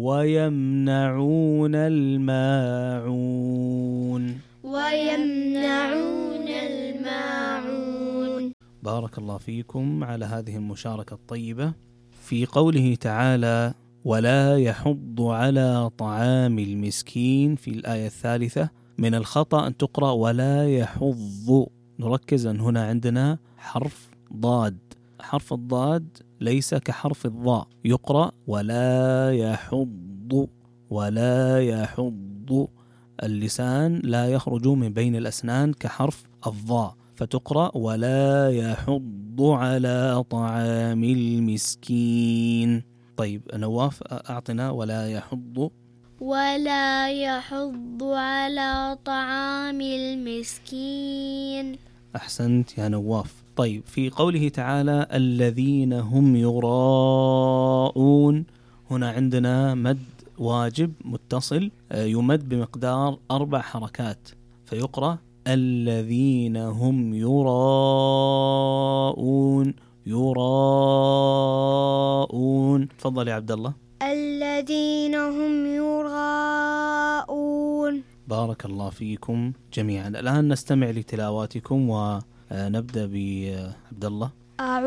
ويمنعون الماعون. ويمنعون الماعون. بارك الله فيكم على هذه المشاركة الطيبة. في قوله تعالى ولا يحض على طعام المسكين في الآية الثالثة، من الخطأ أن تقرأ ولا يحض. نركز أن هنا عندنا حرف ضاد، حرف الضاد ليس كحرف الضاء، يقرأ ولا يحض ولا يحض، اللسان لا يخرج من بين الأسنان كحرف الضاء، فتقرأ ولا يحض على طعام المسكين. طيب نواف أعطنا ولا يحض. ولا يحض على طعام المسكين. أحسنت يا نواف. طيب في قوله تعالى الذين هم يراءون، هنا عندنا مد واجب متصل يمد بمقدار 4 حركات، فيقرأ الذين هم يراءون. يراءون. تفضل يا عبد الله. الذين هم يراءون. بارك الله فيكم جميعا. الآن نستمع لتلاواتكم ونبدأ بعبد الله. أعوذ